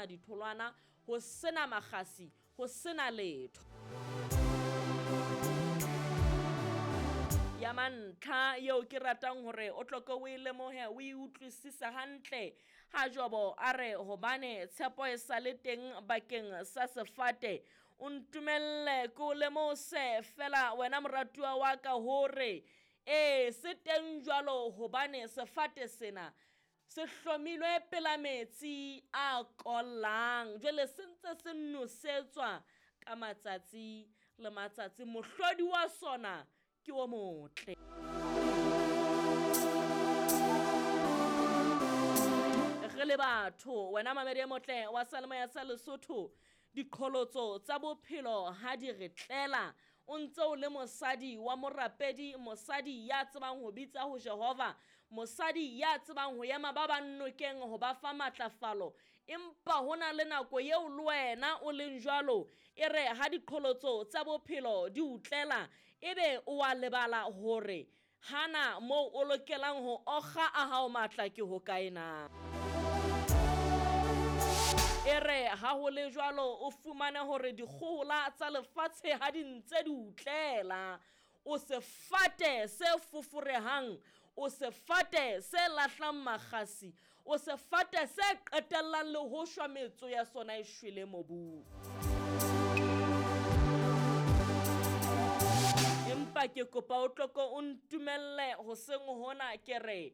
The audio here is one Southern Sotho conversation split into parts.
sena ditholwana, ho sena makgasi, ho sena letho. Ya mantlha eo ke ratang hore o tlo ke o e lemohe, o e utlwisise hantle. Ha Jobo a re hobane tshepo e sa le teng bakeng sa sefate, o ntumelle ke o lemose fela wena moratuwa wa ka hore ee se teng jwalo hobane sefate sena se hlomilwe pela metsi a kollang, jwale se ntse se nosetswa ka matsatsi le matsatsi, mohlodi wa sona ke o motle. Re le batho, wena mamedi e motle wa Seyalemoya sa Lesotho, diqholotso tsa bophelo ha di re tlela, o ntse o le mosadi wa morapedi, mosadi ya tsebang ho bitsa ho Jehova, mosadi ya tsebang ho ema ba bang nokeng ho ba fa matlafalo, empa hona le nako eo le wena o leng jwalo, e re ha diqholotso tsa bophelo di o tlela, ebe o a lebala hore hana moo o lokelang ho okga a hao matla ke hokae na. E re ha ho le jwalo o fumane hore dikgohola tsa lefatshe ha di ntse di utlela, o sefate se foforehang, o sefate se lahlang makgasi, o sefate se qetellang le ho shwa metso ya sona e shwele mobung. Empa ke kopa o tloko o ntumelle hoseng hona ke re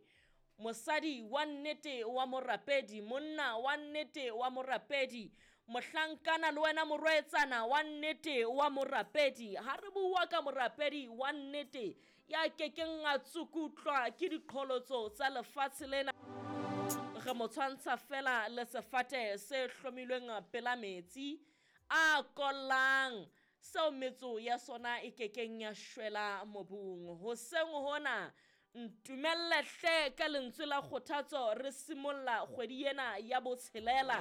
mosadi wa nnete wa morapedi, monna wa nnete wa morapedi, mohlankana le wena morwetsana wa nnete wa morapedi. Ha re bua ka morapedi wa nnete ya kekeng a tsukutlwa ke diqholotso tsa lefatshe lena, re mo tshwantsha fela le sefate se hlomilweng pela metsi a kollang, seo metso ya sona e kekeng ya shwela mobung. Hoseng hona ntumelle hle ka lentswe la kgothatso re simolla kgwedi ena ya botshelela,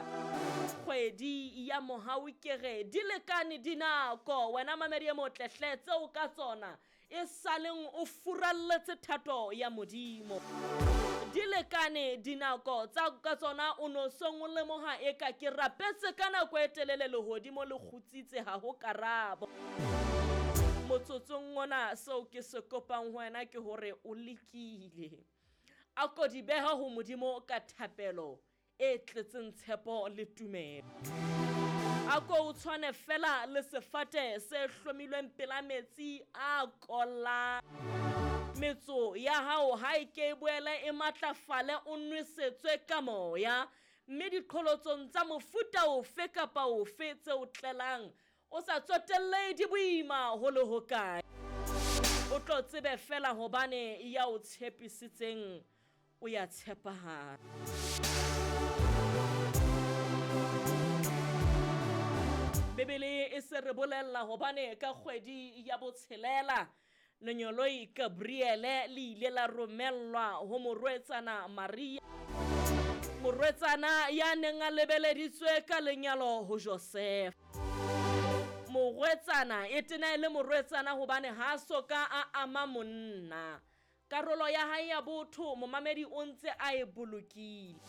kgwedi ya mohau. Ke re di lekane dinako, wena mamedi e motle hle, tseo ka tsona e saleng o furalletse thato ya Modimo. Di lekane dinako tsa ka tsona o no song o lemoha eka ke rapetse ka nako e telele lehodimo le kgutsitse ha ho karabo. Motsotsong ona seo ke se kopang ho wena ke hore o lekile, a ko di beha ho Modimo ka thapelo e tletseng tshepo le tumelo. A ko o tshwane fela le sefate se hlomilweng pela metsi a kollang, metso ya hao ha e ke e boele e matlafale, o nwesetswe ka moya, mme diqholotsong tsa mofuta ofe kapa ofe tse o tlelang o sa tsotelle di boima ho le hokae, o tlo tsebe fela hobane ya o tshepisitseng o ya tshepahala. Bibele e se re bolella hobane ka kgwedi ya botshelela lenyoloi Gabriele le ile la romellwa ho morwetsana Maria, morwetsana ya neng a lebeleditswe ka lenyalo ho Joseph. Morwetsana e tena e le morwetsana hobane ha soka a ama monna, karolo ya hae ya botho momamedi o ntse a e bolokile,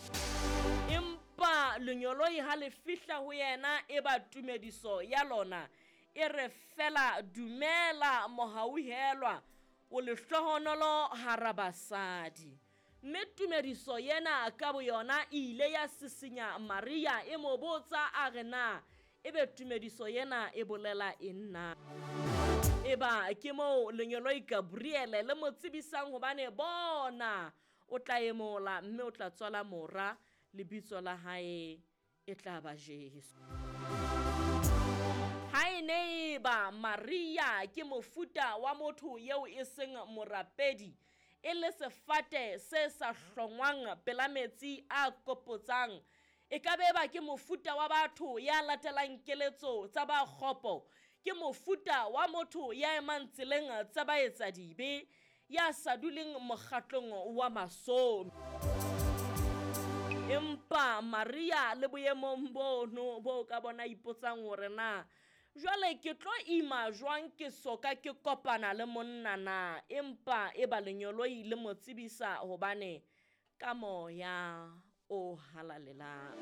empa lenyoloi ha le fihla ho yena e ba tumediso ya lona e re fela dumela mohauhelwa, o lehlohonolo hara basadi. Mme tumediso yena ka boyona e ile ya sisinya Maria, e mo botsa a re na ebe tumediso yena e bolela eng na. Eba ke moo lenyoloi Gabriele le mo tsebisang hobane bona o tla emola mme o tla tswala mora, lebitso la hae e tla ba Jesu. Ha e ne eba Maria ke mofuta wa motho eo e seng morapedi, e le sefate se sa hlongwang pela metsi a kopotsang, e ka be ba ke mofuta wa batho ya latelang keletso tsa ba kgopo, ke mofuta wa motho ya emang tseleng tsa baetsadibe, ya sa duleng mokgatlong wa masomi. Empa Maria le boemong bono bo ka bona ipotsang hore na jwale ke tlo ima jwang ke soka ke kopana le monna na, empa e ba lenyoloi le mo tsebisa hobane ka moya o halalelang.